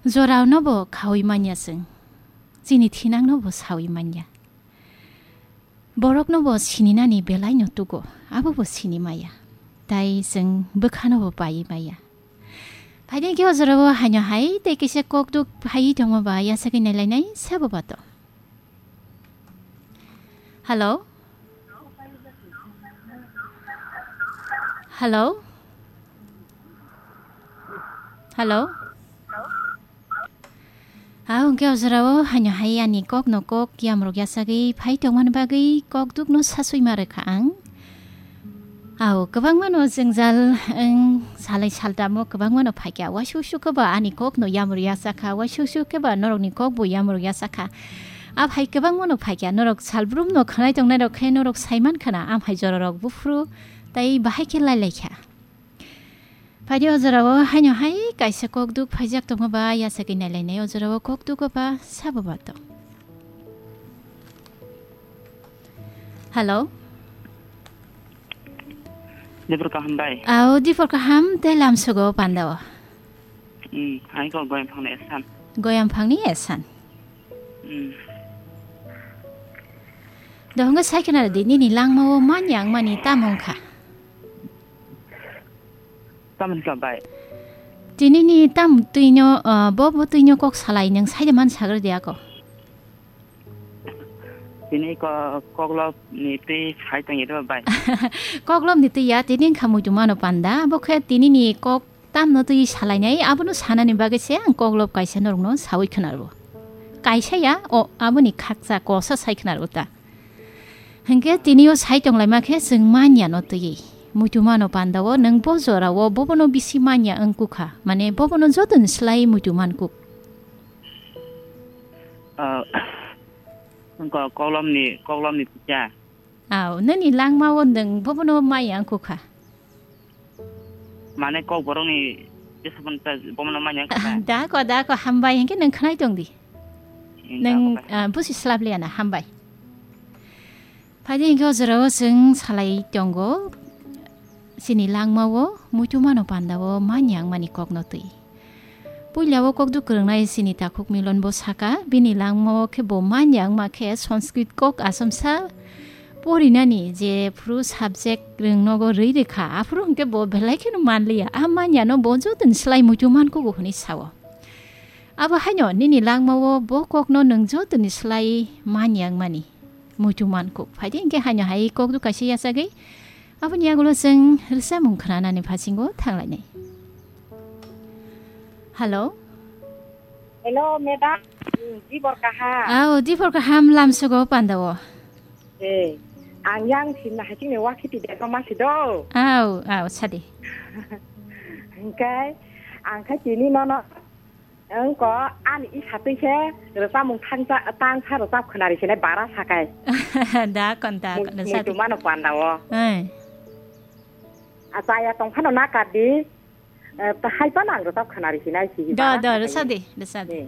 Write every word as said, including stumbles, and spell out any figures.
Jorao no bo khaui manya chwng, chini thinang no bo saui manya. Borok no bo sininani belai no tugo, abo bo sini maya. Tai chwng bwkha no bo pai maya. Phaidi khe o jorao haino hai tei kisa kok duk phai tongma ba yasagwi nailainai sabo bato. Hello? Hello? Hello? Aw, hwnkhe o jorao haino hai ani kokno kok yamrok yasagwi phai tongmani bagwi kok dukno sasui ma rwkha ang. Aw, kwbangmano jwngjal, wng, salai saltamo kwbangmano phaikha. Waisuk suk khe ba ani kokno yamrok yasakha, waisuk suk khe ba norokni kokbo yamrok yasakha. A phai kwbangmano phaikha, norok salbrumno khwnai tongnairok khe norok saiman khna, amhai jorarok buphuru tei bahai khe lailaikha. Phaidi o jorao haino hai kaisa kok duk phaijak tongma ba yasagwi nailainai o jorao kok duk ba sabo bato. Hello? Dipor kaham bai? Aw, dipor kaham tei lamsogo pandao. Hmm, hai ko goyam phangni esan. Goyam phangni esan. Hmm. Dohongo sai khna di nini langmao manya wngmani tamo wngkha? Tamoni ka bai? Tinini tam twino, ah, bo, bo twino kok salai nwng saida man sagra di ako. Tini ko-, koklop ni twi sai tong iro bai. Koklop ni twi ya, tini wngkha muitu mano panda, bo khe tini ni kok tamno twi salainai, abono sanani bagwi se ang koklop kaisa norokno saui khwnarwo. Kaisa ya, o, aboni khakcha kosa sai khwnarwo ta. Hinkhe tini o sai tonglaima khe chwng manya no twi. Muitu mano panda o nwng bo jora o bobono bisi manya wngkukha, mane bobono joto ni slai muitu mankuk. Ah, wngkha koklop ni, koklop ni twi ya. Aw, nini langmao nwng bobono maya wngkukha? Mane kok borokni jesabon ta bomono manya wngkha. Dako, dako, hambai, hinkhe nwng khwnai tong di. Hmm, nwng, dako bai. Ah, busi slap liya na, hambai. Phaidi hinkhe o jorao chwng salai tongo. Chini langmao muitu mano pandao manya wngmani kokno twi. Puila o kok duk kwrwngnai chini takhuk Milon bo saka, bini langmao khe bo manya wngma khe Sanskrit kok achomsa porinani je phuru subject rwngnogo rwi rwkha, aphuru hwnkhe bo belai kheno manliya. A manyano bo jotoni slai muitu mankugo hwnwi sao. Abo haino nini langmao bo kokno nwng jotoni slai manya wngmani muitu mankuk. Phaidi hinkhe haino hai kok duk kaisa yachagwi Aboni yagulo chwng rwchapmung khwnanani phasingo thanglainai. Hello? Hello, madam. Hmm, dibor kaham. Aw, dibor kaham lamsogo pandao. Eh, ang yang sinna hachingni wakhiti dego masi do. Aw, aw, sadi. Hingkai, ang khai tini nono Wngko ani isa twi khe rwchapmung thangsa, tangsa rwchap khwnari sinai bara sakai. Da kon, da kon, rwchadi. Muitu mano panda o. Ai. A chaya tong phano na kadi, eh, ta hai phano ang rwchap khwnari sinai si. Da, bara da, sakai. Rwchadi, rwchadi. Eh.